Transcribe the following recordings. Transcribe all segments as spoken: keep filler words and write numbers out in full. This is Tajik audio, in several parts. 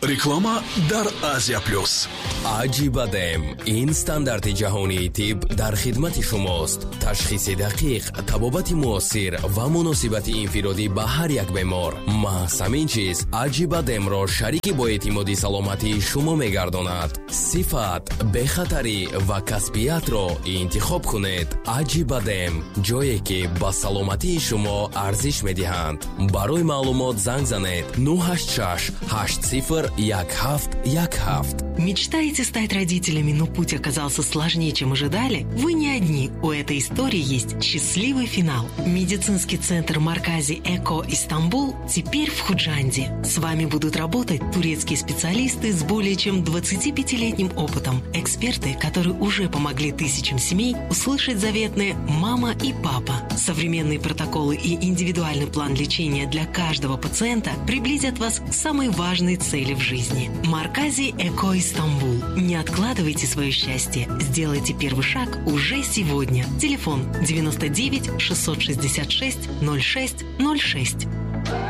Реклама дар Азия Плюс. Аҷибадем ин стандарти ҷаҳонии тиб дар хидмати шумост. Ташхиси дақиқ, табобати муосир ва муносибати инфиродӣ ба ҳар як бемор. Маҳз ҳамин чиз Аҷибадемро шарики боэътимоди саломатии шумо мегардонад. Сифат, бехатарӣ ва касбиятро интихоб кунед. Аҷибадем, ҷое ки ба саломатии шумо арзиш медиҳанд. Барои маълумот занг занед нӯҳ ҳашт шаш ҳашт сифр як ҳафт як ҳафт. Мечтаете стать родителями, но путь оказался сложнее, чем ожидали? Вы не одни. У этой истории есть счастливый финал. Медицинский центр Маркази Эко Истанбул теперь в Худжанде. С вами будут работать турецкие специалисты с более чем двадцатипятилетним опытом. Эксперты, которые уже помогли тысячам семей услышать заветные «мама» и «папа». Современные протоколы и индивидуальный план лечения для каждого пациента приблизят вас к самой важной цели в жизни. Маркази Эко Истанбул. Не откладывайте свое счастье. Сделайте первый шаг уже сегодня. Телефон девяносто девять шестьсот шестьдесят шесть ноль шесть ноль шесть.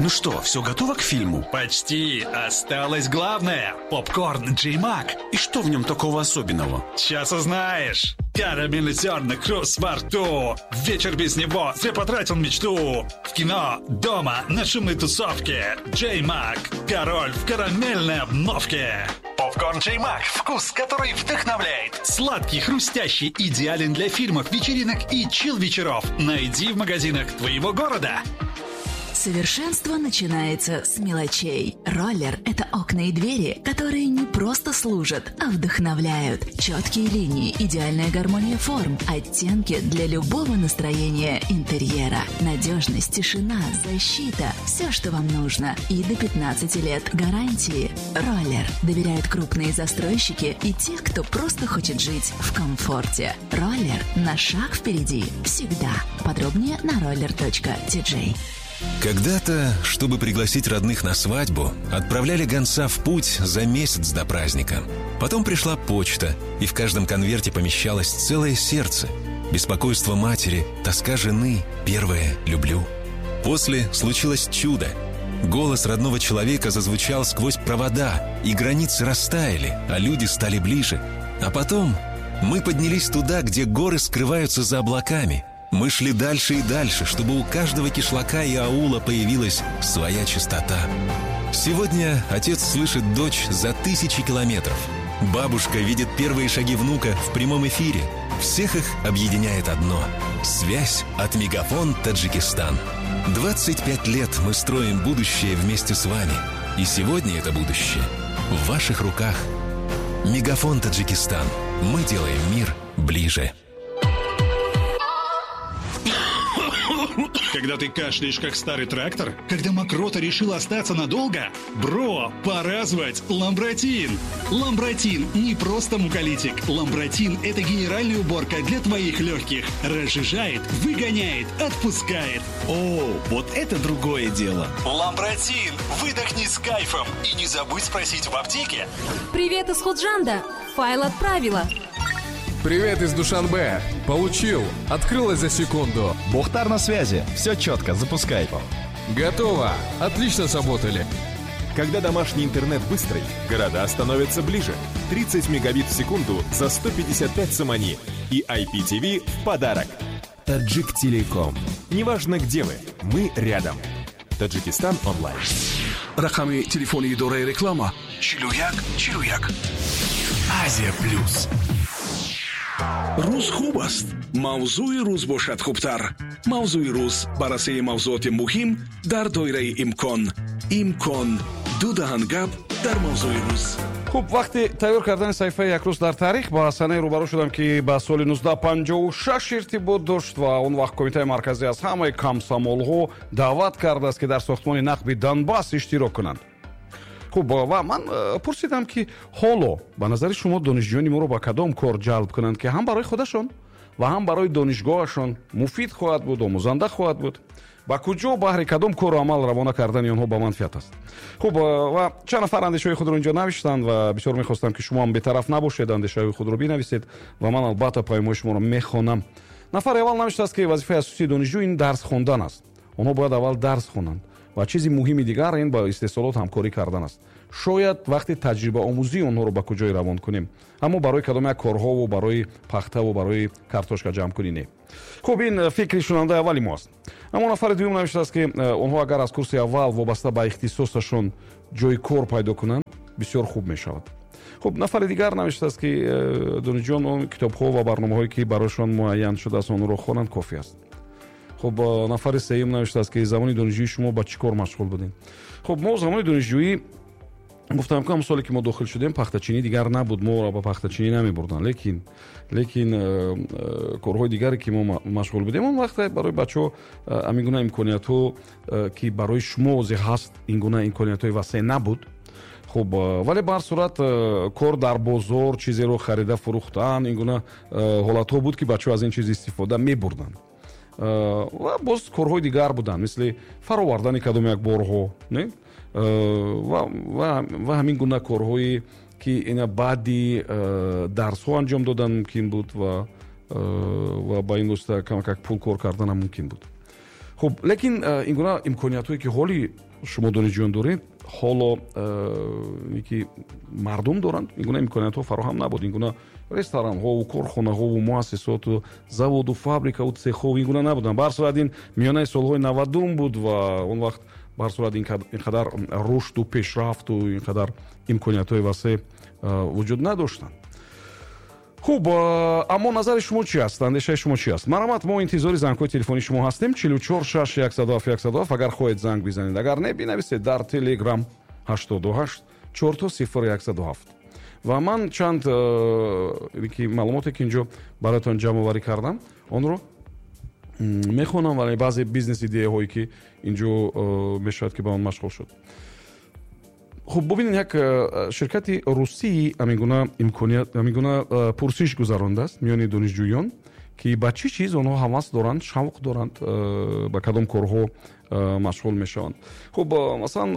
Ну что, все готово к фильму? Почти. Осталось главное. Попкорн Джей Мак. И что в нем такого особенного? Сейчас узнаешь. Карамельный зерна, хруст во рту. Вечер без него, зря потратил мечту. В кино, дома, на шумной тусовке. Джей Мак. Король в карамельной обновке. Попкорн Джей Мак. Вкус, который вдохновляет. Сладкий, хрустящий, идеален для фильмов, вечеринок и чил-вечеров. Найди в магазинах твоего города. Совершенство начинается с мелочей. Роллер – это окна и двери, которые не просто служат, а вдохновляют. Четкие линии, идеальная гармония форм, оттенки для любого настроения интерьера. Надежность, тишина, защита – все, что вам нужно. И до пятнадцати лет гарантии. Роллер доверяют крупные застройщики и те, кто просто хочет жить в комфорте. Роллер на шаг впереди всегда. Подробнее на роллер точка ти джей. Когда-то, чтобы пригласить родных на свадьбу, отправляли гонца в путь за месяц до праздника. Потом пришла почта, и в каждом конверте помещалось целое сердце. Беспокойство матери, тоска жены, первое «люблю». После случилось чудо. Голос родного человека зазвучал сквозь провода, и границы растаяли, а люди стали ближе. А потом мы поднялись туда, где горы скрываются за облаками. Мы шли дальше и дальше, чтобы у каждого кишлака и аула появилась своя чистота. Сегодня отец слышит дочь за тысячи километров. Бабушка видит первые шаги внука в прямом эфире. Всех их объединяет одно – связь от Мегафон Таджикистан. двадцать пять лет мы строим будущее вместе с вами. И сегодня это будущее в ваших руках. Мегафон Таджикистан. Мы делаем мир ближе. Когда ты кашляешь, как старый трактор? Когда мокрота решила остаться надолго? Бро, пора звать Ламбратин! Ламбратин не просто муколитик. Ламбратин – это генеральная уборка для твоих легких. Разжижает, выгоняет, отпускает. О, вот это другое дело. Ламбратин! Выдохни с кайфом и не забудь спросить в аптеке. Привет из Худжанда! Файл отправила. Привет из Душанбе. Получил. Открылось за секунду. Бухтар на связи. Все четко. Запускай. Готово. Отлично сработали. Когда домашний интернет быстрый, города становятся ближе. тридцать мегабит в секунду за сто пятьдесят пять сомони. И ай пи ти ви в подарок. Таджик Телеком. Неважно, где вы, мы рядом. Таджикистан онлайн. Рақами телефони идораи реклама чилу як чилу як. Азия Плюс. Рӯз хуб аст. Мавзӯи рӯз бошад хубтар. Мавзӯи рӯз баррасии мавзӯоти муҳим дар доираи имкон. Имкон. Ду даҳан гап дар мавзӯи рӯз. Хуб, вақти тайёр кардани саҳифаи як рӯз дар таърих ба санаи рӯбарӯ шудам, ки ба соли нуздаҳ панҷоҳу шаш иртибот дошт ва он вақт Кумитаи марказӣ аз ҳамаи комсомолҳо даъват кардааст, ки дар сохтмони нақби Донбасс иштирок кунанд. Хуб, ва ман пурсидам, ки ҳоло ба назари шумо донишҷӯёни моро ба кадом кор ҷалб кунанд, ки ҳам барои худашон ва ҳам барои донишгоҳашон муфид хоҳад буд, омӯзанда хоҳад буд. Ба куҷо баҳри кадом кору амал равона кардани онҳо ба манфиат аст. Хуб, ва чанд нафар андешаҳои худро инҷо навиштанд ва бисёр мехостам, ки шумо ҳам бетараф набошед, андешаҳои худро бинависед ва ман албатта паёмҳои шуморо мехонам. Нафари аввал навиштааст, ки вазифаи асосии донишҷӯ ин дарс хондан аст. Онҳо бояд аввал дарс хонанд Ва чизи муҳими дигар ин ба истеҳсолот ҳамкорӣ кардан аст. Шояд вақти таҷрибаомӯзии онҳоро ба куҷое равон кунем, аммо барои кадом як корҳову барои пахтаву барои картошка ҷамъкунӣ не. Хуб, ин фикри шунавандаи аввали мо аст. Аммо нафари дуюм навиштааст, ки онҳо агар аз курси аввал вобаста ба ихтисосашон ҷои кор пайдо кунанд, бисёр хуб мешавад. Хуб, нафари дигар навиштааст, ки донишҷӯён он китобҳо ва барномаҳое, ки барояшон муайян шудааст, онро хонанд, кофӣ аст. Хуб, нафари сеюм навиштааст, ки замони донишҷӯии шумо ба чӣ кор машғул будед? Хуб, мо замони донишҷӯӣ гуфтам, ки ҳам соле ки мо дохил шудем, пахтачинӣ дигар набуд, моро ба пахтачинӣ намебурданд, лекин лекин корҳои дигаре, ки мо машғул будем, он вақт барои бачаҳо ҳамин гуна имкониятҳо, ки барои шумо ҳозир ҳаст, ин гуна имкониятҳои васеъ набуд. Хуб, вале ба ҳар сурат кор дар бозор, чизеро харида фурӯхтан, ин гуна ҳолатҳо буд, ки бачаҳо аз ин чиз истифода мебурданд. Ва боз корҳои дигар буданд, мисли фаровардани кадом як борҳо, не, ва ҳамин гуна корҳое, ки ина баъди дарсҳо анҷом додан мумкин буд ва ва ба ин восита камакак пул кор карданам мумкин буд. Хуб, лекин ин гуна имкониятҳое, ки ҳоли шумо донишҷӯён доред, ҳоло ки мардум доранд, ин гуна имкониятҳо фароҳам набуд. Ин гуна ресторанҳову корхонаҳову муассисоту заводу фабрикаву цехҳо ин гуна набуданд. Ба ҳар сурат ин миёнаи солҳои навадум буд ва он вақт ба ҳар сурат ин қадар рушду пешрафту ин қадар имкониятҳои васеъ вуҷуд надоштанд. Хуб, аммо назари шумо чи аст, андешаи шумо чи аст? Марҳамат, мо интизори зангҳои телефонии шумо ҳастем. Чилу чор шаш яксаду ҳафт яксаду ҳафт. Агар хоҳед, занг бизанед, агар не, бинависед дар Телеграм ҳаштоду ҳашт чорто сифр яксаду ҳафт. Ва ман чанд ки маълумоте, ки инҷо бароятон ҷамъоварӣ кардам, онро мехонам, вале баъзе бизнес идеяҳое, ки инҷо мешавад, ки ба он машғул шуд. Хуб, бубинед, як ширкати русии ҳамин гуна имконият, ҳамин гуна пурсиш гузарондааст миёни донишҷӯён, ки ба чӣ чиз онҳо ҳавас доранд, шавқ доранд, ба кадом корҳо машғул мешаванд. Хуб, масалан,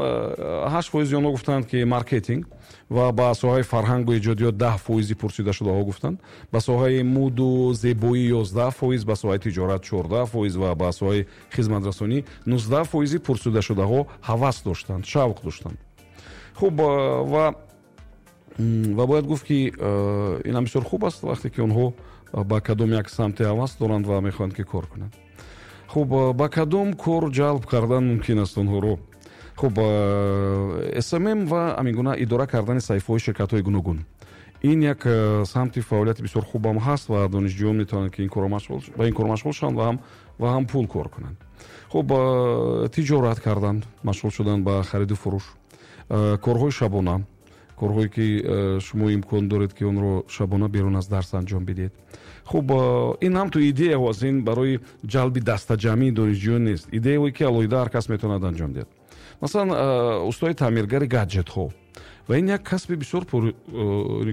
ҳашт фоизи онҳо гуфтанд, ки маркетинг ва ба соҳаи фарҳангу эҷодиёт даҳ фоизи пурсидашудаҳо гуфтанд, ба соҳаи муду зебоӣ ёздаҳ фоиз, ба соҳаи тиҷорат чордаҳ фоиз ва ба соҳаи хизматрасонӣ нуздаҳ фоизи пурсидашудаҳо ҳавас доштанд, шавқ доштанд. Хуб, ва ва бояд гуфт, ки ин ҳам бисёр хуб аст, вақте ки онҳо ба кадом як самте ҳавас доранд ва мехоҳанд, ки кор кунанд. Хуб, ба кадом кор ҷалб кардан мумкин аст онҳоро? Хуб, С М М ва ҳамин гуна идора кардани саҳифаҳои ширкатҳои гуногун, ин як самти фаъолияти бисёр хубам ҳаст ва донишҷӯён метавонанд, ки ба ин кор машғул шаванд ва ҳам ва ҳам пул кор кунанд. Хуб, тиҷорат кардан, машғул шудан ба хариду фурӯш, корҳои шабона, корҳое, ки шумо имкон доред, ки онро шабона берун аз дарс анҷом бидиҳед. Хуб, ин ҳам ту идеяҳо аст, ин барои ҷалби дастаҷамъии донишҷӯён нест, идеяҳое, ки алоҳида ҳар кас метавонад анҷом диҳад. Масалан, устои таъмиргари гаджетҳо, ва ин як касби бисёр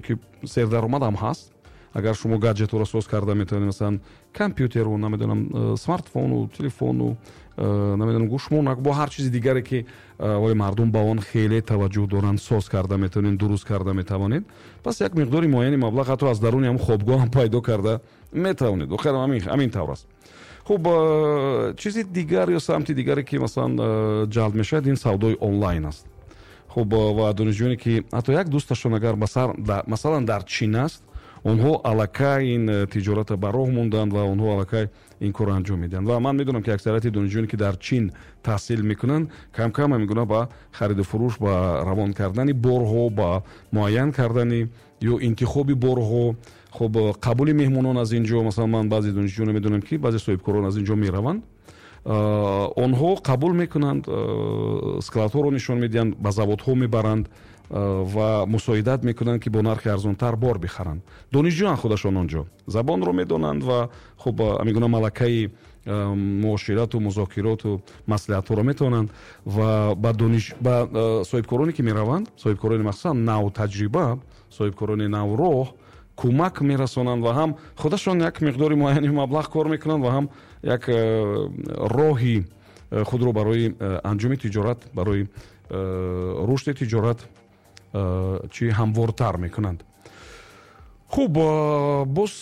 ки сердаромад ҳам ҳаст. Агар шумо гаджетҳоро соз карда метавонед, масалан, компютеру, намедонам, смартфону, телефону, намедонам, гӯшмонак, бо ҳар чизи дигаре, ки ои мардум ба он хеле таваҷҷӯҳ доранд, соз карда метавонед, дуруст карда метавонед, пас як миқдори муайяни маблағ ҳатто аз даруни ҳам хобгоҳ ҳам пайдо карда метавонед. Охир ҳамин тавр аст. Хуб, чизи дигар ё самти дигаре, ки масалан ҷалб мешавад, ин савдои онлайн аст. Хуб, ва донишҷӯёне, ки ҳатто як дӯсташон агар масалан дар Чин аст, онҳо аллакай ин тиҷората ба роҳ монданд ва онҳо аллакай ин корро анҷом медиҳанд. Ва ман медонам, ки аксарияти донишҷӯёне, ки дар Чин таҳсил мекунанд, камкам ҳамин гуна ба хариду фурӯш, ба равон кардани борҳо, ба муайян кардани ё интихоби борҳо, хуб, қабули меҳмонон аз ин ҷо. Масалан, ман баъзе донишҷӯёне медонам, ки баъзе соҳибкорон аз ин ҷо мераванд, онҳо қабул мекунанд, складҳоро нишон медиҳанд, ба заводҳо мебаранд ва мусоидат мекунанд, ки бо нархи арзонтар бор бихаранд. Донишҷӯян худашон он ҷо забонро медонанд ва хуб, ҳамин гуна малакаи муоширату музокироту маслиҳатҳоро метавонанд ва ба дониш ба соҳибкороне, ки мераванд, соҳибкорони махсусан навтаҷриба, соҳибкорони навроҳ, кӯмак мерасонанд ва ҳам худашон як миқдори муайяни маблағ кор мекунанд ва ҳам як роҳи худро барои анҷоми тиҷорат, барои рушди тиҷорат чӣ ҳамвортар мекунанд. Хуб, боз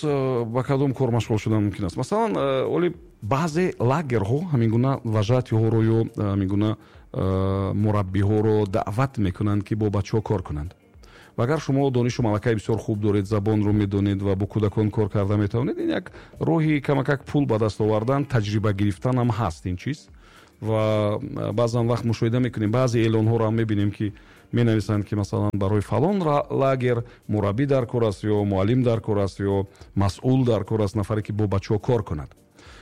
ба кадом кор машғул шудан мумкин аст? Масалан, оли баъзе лагерҳо ҳамин гуна вожатыйҳоро ё ҳамин гуна мураббиҳоро даъват мекунанд, ки бо бачаҳо кор кунанд. Ва агар шумо донишу малакаи бисёр хуб доред, забонро медонед ва бо кӯдакон кор карда метавонед, ин як роҳи камакак пул ба даст овардан, таҷриба гирифтан ҳам ҳаст ин чиз. Ва баъзан вақт мушоҳида мекунем, баъзе эълонҳоро ҳам мебинем, ки менависанд, ки масалан барои фалон лагер мураббӣ дар кор аст ё муаллим дар кор аст ё масъул дар кор аст, нафаре ки бо бачаҳо кор кунад.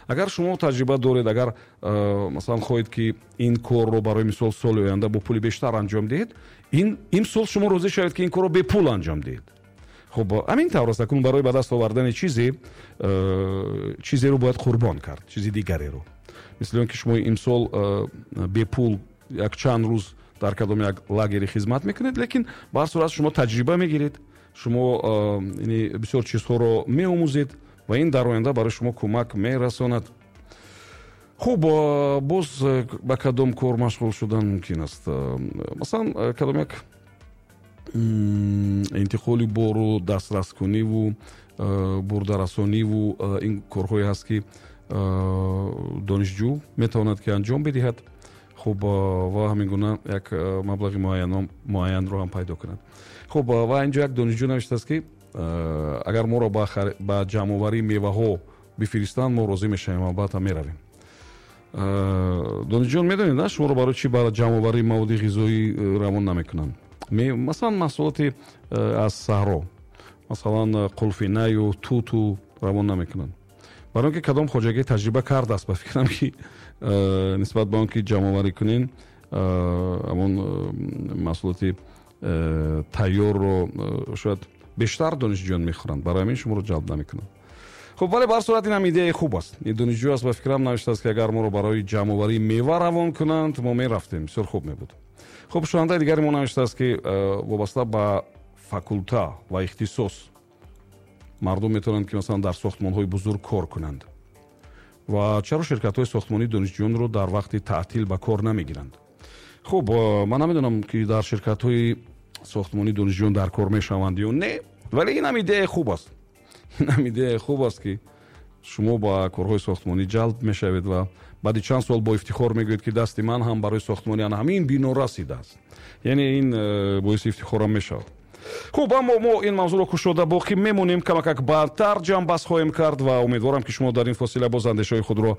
Агар шумо таҷриба доред, агар масалан хоҳед, ки ин корро барои мисол соли оянда бо пули бештар анҷом диҳед, ин имсол шумо розӣ шавед, ки ин корро бепул анҷом диҳед. Хуб, ҳамин тавр аст. Акнун барои ба даст овардани чизе, чизеро бояд қурбон кард, чизи дигареро. Мисли он ки шумо имсол бепул як чанд рӯз дар кадом як лагери хизмат мекунед, лекин ба ҳар сурат шумо таҷриба мегиред, шумо бисёр чизҳоро меомӯзед ва ин дар оянда барои шумо кӯмак мерасонад. Хуб, боз ба кадом кор машғул шудан мумкин аст? Масалан, кадом як интиқоли бору дастраскуниву бурдарасониву ин корҳое ҳаст, ки донишҷӯ метавонад, ки анҷом бидиҳад. Хуб, ва ҳамин гуна як маблағи муайянро ҳам пайдо кунад. Хуб, ва инҷо як донишҷӯ навиштааст, ки агар моро ба ҷамъоварии меваҳо бифиристанд, мо розӣ мешавем, албатта меравем. Донишҷӯён, медонед, на шуморо барои чӣ ба ҷамъоварии маводи ғизоӣ равон намекунанд? Масалан, маҳсулоти аз саҳро, масалан қулфинаю туту равон намекунанд. Барои он ки кадом хоҷагӣ таҷриба кардааст, ба фикрам, ки нисбат ба он ки ҷамъоварӣ кунен, ҳамон маҳсулоти тайёрро шояд бештар донишҷӯён мехӯранд, барои ҳамин шуморо ҷалб намекунанд. Хуб, вале ба ҳар сурат ин ҳам идеяи хуб аст. Ин донишҷӯ аст, ба фикрам, навиштааст, ки агар моро барои ҷамъоварии мева равон кунанд, мо мерафтем, бисёр хуб мебуд. Хуб, шунавандаи дигари мо навиштааст, ки вобаста ба факулта ва ихтисос мардум метавонанд, ки масалан дар сохтмонҳои бузург кор кунанд. Ва чаро ширкатҳои сохтмонии донишҷӯёнро дар вақти таътил ба кор намегиранд? Хуб, ман намедонам, ки дар ширкатҳои сохтмонии донишҷӯён дар кор мешаванд ё не, вале ин ҳам идеяи хуб аст. Ин ҳам идеяи хуб аст, ки шумо ба корҳои сохтмонӣ ҷалб мешавед ва баъди чанд сол бо ифтихор мегӯед, ки дасти ман ҳам барои сохтмони ана ҳамин бино расидааст. Яъне ин боиси ифтихорам мешавад. Хуб, аммо мо ин мавзӯъро кушода боқӣ мемонем, камакак баъдтар ҷамъбаст хоҳем кард ва умедворам, ки шумо дар ин фосила боз андешаҳои худро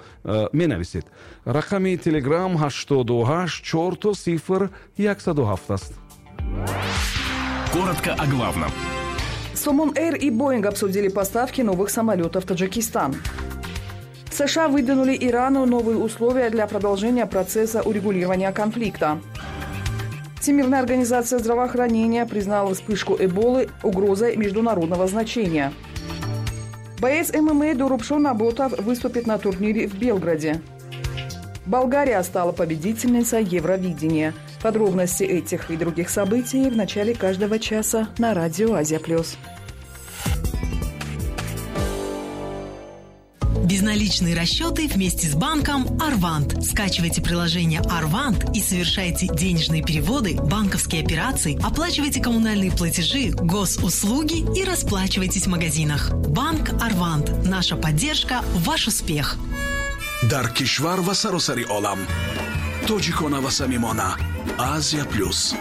менависед. Рақами Телеграм ҳаштоду ҳашт чорто сифр яксаду ҳафт аст. Коротко о главном. Сомон Эйр и Боинг обсудили поставки новых самолетов в Таджикистан. США выдвинули Ирану новые условия для продолжения процесса урегулирования конфликта. Всемирная организация здравоохранения признала вспышку Эболы угрозой международного значения. Боец эм эм а Дурупшон Наботов выступит на турнире в Белграде. Болгария стала победительницей Евровидения. Подробности этих и других событий в начале каждого часа на радио «Азия плюс». Безналичные расчеты вместе с банком «Арвант». Скачивайте приложение «Арвант» и совершайте денежные переводы, банковские операции, оплачивайте коммунальные платежи, госуслуги и расплачивайтесь в магазинах. Банк «Арвант». Наша поддержка – ваш успех. Дар кишвар ва саросари олам. Тоҷикона ва самимона. Азия плюс.